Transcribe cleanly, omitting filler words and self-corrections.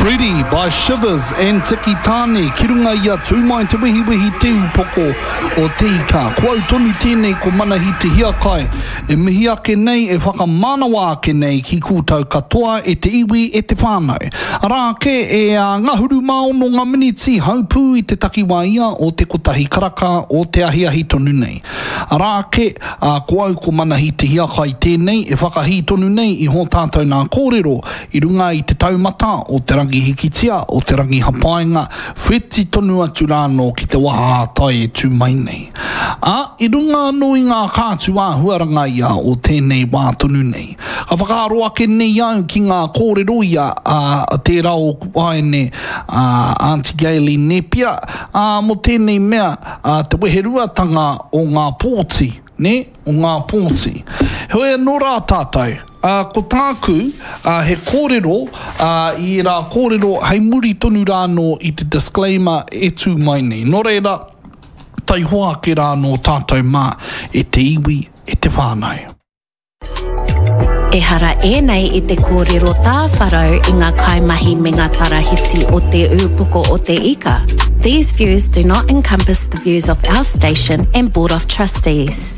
Ready by Shivers and Tiki Taane ki runga i a Tū Mai Te Wehiwehi Te Upoko o Te Ika. Ko au tonu tēnei ko Manahi Te Hiakai e mihi ake nei e whakamanawa ake nei ki koutou katoa e te iwi e te whānau. Arā ake e a ngahuru mā ono ngā miniti haupū i te takiwā ia o te kotahi karaka o te ahiahi tonu nei. Arā ake, ā, ko au ko Manahi Te Hiakai tēnei e whakahī tonu nei i hō tātou nā kōrero I runga i te taumata o Te Rangi Hikitia, o Te Rangi Hapainga, wheti tonu atu rānō ki te waha ā-tai e tū mai nei. Ā, i runga anō i ngā kātū āhuaranga ia o tēnei wā tonu nei. Ka whakaaro ake nei au ki ngā kōrero ia a tērā ōku waeine, a Aunty Gaylene Nepia, ā, mō tēnei mea, ā, te weheruatanga o ngā pōti, nē, o ngā pōti. Heoi anō rā tātou, ā, ko tāku, ā, he kōrero, ā, i ērā kōrero hei muri tonu rā anō i te disclaimer e tū mai nei. Nō reira, taihoa ake rā anō tātou mā, e te iwi, e te whānau. Ehara ēnei i te kōrero tāwharau i ngā kaimahi me ngā tarahiti o Te Ūpoko o Te Ika. These views do not encompass the views of our station and Board of Trustees.